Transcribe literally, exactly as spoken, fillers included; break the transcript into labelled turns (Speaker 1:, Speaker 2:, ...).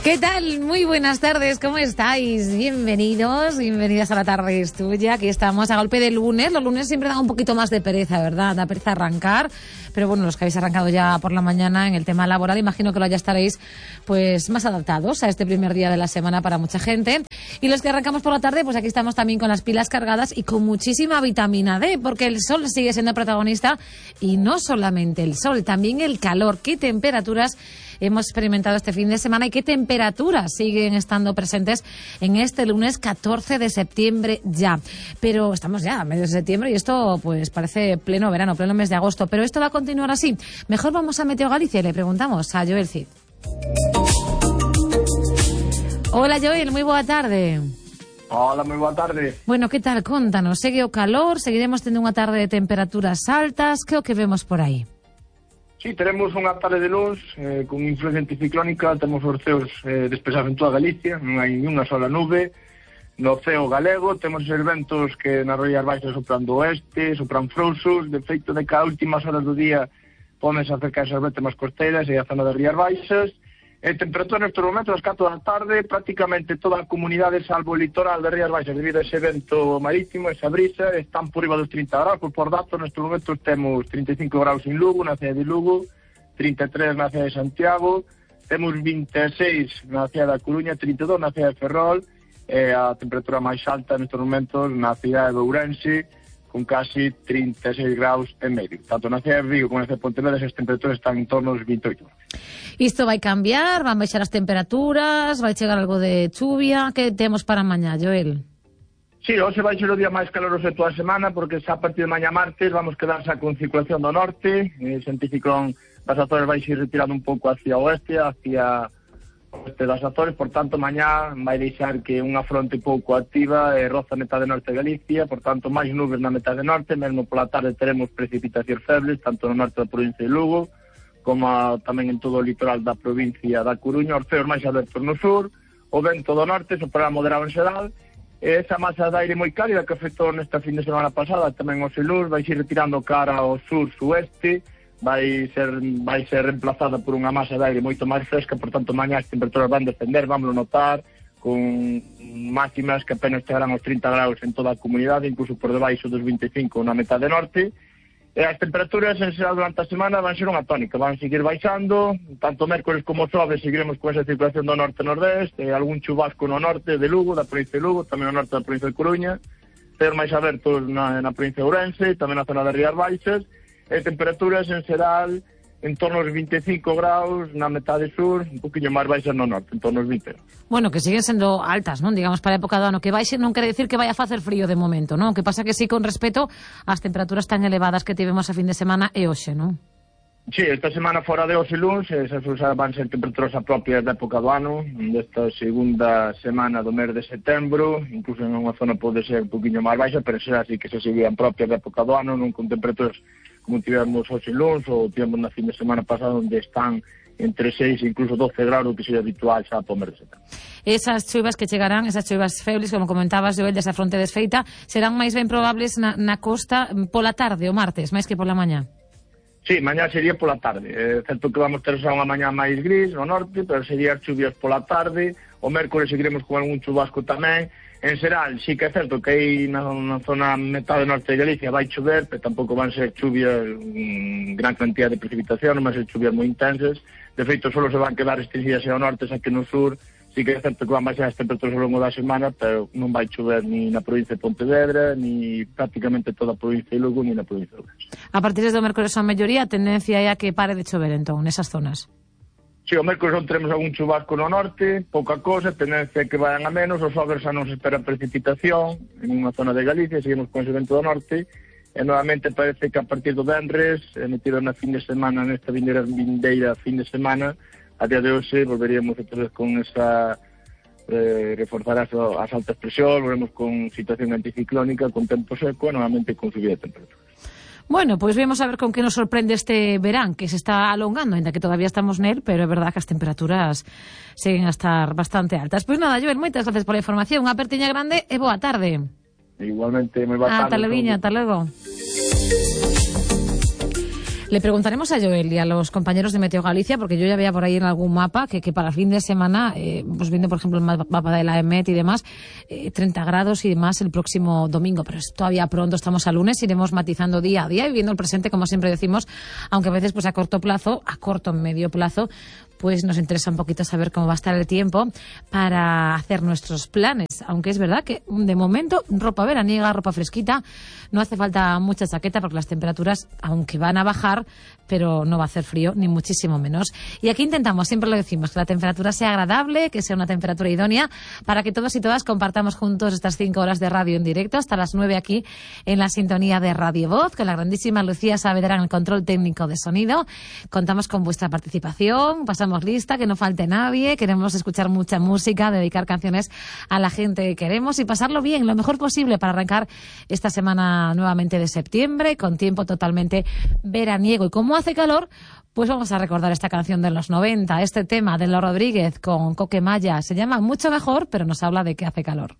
Speaker 1: ¿Qué tal? Muy buenas tardes, ¿cómo estáis? Bienvenidos, bienvenidas a La Tarde es Tuya. Aquí estamos a golpe de lunes. Los lunes siempre dan un poquito más de pereza, ¿verdad? Da pereza arrancar, pero bueno, los que habéis arrancado ya por la mañana en el tema laboral, imagino que lo ya estaréis pues más adaptados a este primer día de la semana para mucha gente. Y los que arrancamos por la tarde, pues aquí estamos también con las pilas cargadas y con muchísima vitamina D, porque el sol sigue siendo protagonista y no solamente el sol, también el calor. ¿Qué temperaturas hemos experimentado este fin de semana y qué temperaturas siguen estando presentes en este lunes catorce de septiembre ya? Pero estamos ya a mediados de septiembre y esto pues parece pleno verano, pleno mes de agosto. Pero esto va a continuar así. Mejor vamos a Meteo Galicia y le preguntamos a Joel Cid. Hola Joel, muy boa tarde.
Speaker 2: Hola, moi boa tarde.
Speaker 1: Bueno, que tal? Contanos, segue o calor, seguiremos tendo unha tarde de temperaturas altas, que é o que vemos por aí?
Speaker 2: Sí, tenemos unha tarde de luz eh, con influencia anticiclónica, temos os ceos eh, despejados en toda Galicia, non hai ni unha sola nube. No ceo galego temos os ventos que nas Rías Baixas sopran do oeste, sopran frouxos, de feito de cada últimas horas do día pódense acercar esas vetas máis costeiras e a zona das Rías Baixas. E temperatura nestes momentos, ás catro da tarde, prácticamente toda a comunidade, salvo o litoral das Rías Baixas, debido a ese vento marítimo, esa brisa, están por riba dos trinta graus, por, por datos, nestes momentos temos trinta e cinco graus en Lugo, na cidade de Lugo, trinta e tres na cidade de Santiago, temos vinte e seis na cidade da Coruña, trinta e dos na cidade de Ferrol, e a temperatura máis alta nestes momentos na cidade de Ourense, con casi trinta e seis graus e medio. Tanto na cidade de Vigo como na cidade de Pontevedra, as temperaturas están en torno aos vinte e oito graus.
Speaker 1: Isto vai cambiar, van baixar as temperaturas, vai chegar algo de chuvia. Que temos para mañá, Joel?
Speaker 2: Sí, hoxe vai ser o día máis caloroso de toda a semana, porque xa a partir de mañá martes vamos quedar xa con circulación do norte, e ese anticiclón das Azores vai ser retirado un pouco hacia o oeste, hacia o oeste das Azores, por tanto mañá vai deixar que unha fronte pouco activa e roza a metade norte de Galicia, por tanto máis nubes na metade norte, mesmo pola tarde teremos precipitacións febles, tanto no norte da provincia de Lugo, como a, tamén en todo o litoral da provincia da Coruña, os ceos máis abertos no sur, o vento do norte soprará moderado en xeral, e esa masa de aire moi cálida que afectou nesta fin de semana pasada tamén o Selur vai ser retirando cara ao sur-sueste, vai ser vai ser reemplazada por unha masa de aire moito máis fresca, por tanto mañá as temperaturas van descender, vamos notar, con máximas que apenas chegarán aos trinta graus en toda a comunidade, incluso por debaixo dos vinte e cinco na metade norte. E as temperaturas en xeral durante a semana van ser unha tónica, van seguir baixando, tanto mércores como xoves seguiremos con esa circulación do norte-nordeste, e algún chubasco no norte de Lugo, da provincia de Lugo, tamén no norte da provincia de Coruña, ceos máis abertos na, na provincia de Ourense, tamén na zona das Rías Baixas, e temperaturas en xeral en torno aos vinte e cinco graus na metade sur, un poquinho máis baixas no norte, en torno aos vinte.
Speaker 1: Bueno, que siguen sendo altas, non? Digamos, para a época do ano. Que baixe non quere decir que vai a facer frío de momento, non? Que pasa que sí, con respeto ás temperaturas tan elevadas que tivemos a fin de semana e hoxe, non?
Speaker 2: Sí, esta semana fora de hoxe luns, esas van ser temperaturas propias da época do ano, desta segunda semana do mes de setembro, incluso en unha zona pode ser un poquinho máis baixa, pero será así que se seguían propias da época do ano, non con temperaturas como tivemos hoxe luns, ou tivemos na fin de semana pasada, onde están entre seis e incluso doce graus, que sería habitual xa para o mes de setembro.
Speaker 1: Esas chuvas que chegarán, esas chuvas febles, como comentabas, Joel, desa fronte desfeita, serán máis ben probables na, na costa pola tarde, o martes, máis que pola mañá?
Speaker 2: Sí, mañá sería pola tarde. É certo que vamos ter xa unha mañá máis gris no norte, pero serían chuvias pola tarde. O mércores seguiremos con algún chubasco tamén. En xeral, sí que é certo que aí na, na zona metade norte de Galicia vai chover, pero tampouco van ser chuvias mmm, gran cantidad de precipitación, non van ser chuvias moi intensas. De feito, solo se van quedar restringidas ao norte, xa que no sur sí que é certo que van baixar as temperaturas ao longo da semana, pero non vai chover ni na provincia de Pontevedra, ni prácticamente toda a provincia de Lugo, ni na provincia de Ourense.
Speaker 1: A partir do mércores ao melloría, a tendencia é a que pare de chover, entón, nesas zonas?
Speaker 2: Si, o mércores non teremos algún chubasco no norte, pouca cosa, tendencia que vayan a menos, os xoves xa non se espera precipitación en unha zona de Galicia, seguimos con ese vento do norte, e novamente parece que a partir do venres, emitido na fin de semana, nesta vindeira, vindeira fin de semana, a día de hoxe volveríamos outra vez con esa eh, reforzar as, as altas presións, volvemos con situación anticiclónica, con tempo seco, e novamente con subida de temperaturas.
Speaker 1: Bueno, pois pues vemos a ver con que nos sorprende este verán, que se está alongando, ainda que todavía estamos nel, pero é verdad que as temperaturas seguen a estar bastante altas. Pois pues nada, Joel, moitas gracias pola información, unha apertiña grande e boa tarde.
Speaker 2: Igualmente, moi boa tarde.
Speaker 1: Ata leviña, ata logo. Le preguntaremos a Joel y a los compañeros de Meteo Galicia, porque yo ya veía por ahí en algún mapa que, que para el fin de semana, eh, pues viendo por ejemplo el mapa de la EMET y demás, eh, treinta grados y demás el próximo domingo, pero es todavía pronto, estamos a lunes, iremos matizando día a día y viendo el presente, como siempre decimos, aunque a veces pues a corto plazo, a corto medio plazo, pues nos interesa un poquito saber cómo va a estar el tiempo para hacer nuestros planes, aunque es verdad que de momento ropa veraniega, ropa fresquita, no hace falta mucha chaqueta porque las temperaturas, aunque van a bajar, pero no va a hacer frío, ni muchísimo menos. Y aquí intentamos, siempre lo decimos, que la temperatura sea agradable, que sea una temperatura idónea, para que todos y todas compartamos juntos estas cinco horas de radio en directo, hasta las nueve aquí en la sintonía de Radio Voz, con la grandísima Lucía Saavedra en el control técnico de sonido. Contamos con vuestra participación, pasamos lista, que no falte nadie, queremos escuchar mucha música, dedicar canciones a la gente que queremos y pasarlo bien, lo mejor posible para arrancar esta semana nuevamente de septiembre, con tiempo totalmente veraniego. Y como hace calor, pues vamos a recordar esta canción de los noventa, este tema de Los Rodríguez con Coque Maya. Se llama Mucho Mejor, pero nos habla de que hace calor.